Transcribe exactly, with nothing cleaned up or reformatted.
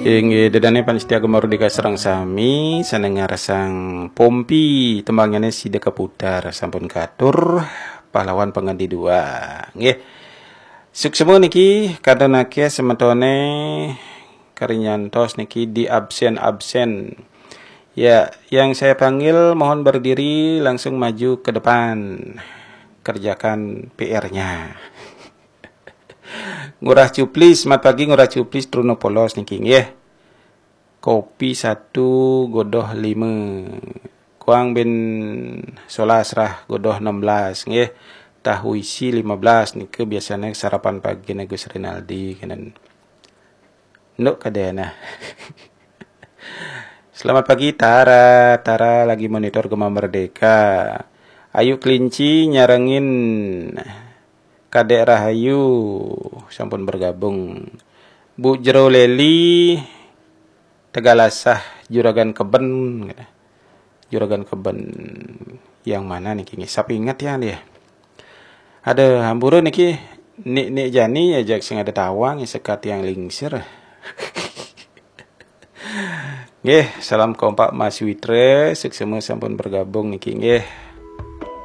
Inggih, ida dané pamiarsa Gema Merdeka sareng sami, sané ngrasang Pompi, tembangnyané Sida Kaputar, sampun katur, pahlawan pangganti dua. Nggih. Suksma niki, kantun akéh semetoné kari nyantos niki di absen-absen. Ya, yang saya panggil mohon berdiri langsung maju ke depan. Kerjakan P R-nya. Ngurah Cuplis, selamat pagi Ngurah Cuplis, Truno Polos niki nggih. Kopi satu godoh lima. Kuang bin solas rah godoh enam belas nggih. Tahu isi lima belas nika biasanya sarapan pagi Gus Rinaldi kenen. Nduk kadéna. Selamat pagi Tara. Tara lagi monitor Gema Merdeka. Ayu Kelinci nyarengin Kadek Rahayu sampun bergabung. Bu Jero Leli Tegalasah Juragan Keben. Juragan Keben yang mana niki nggih? Sapa inget ya dia? Ada hampura niki Nik Nik Jani ya jak sing ada tawang ya sekat yang lingsir. Nggih, salam kompak Mas Witra, suksma sampun bergabung niki nggih.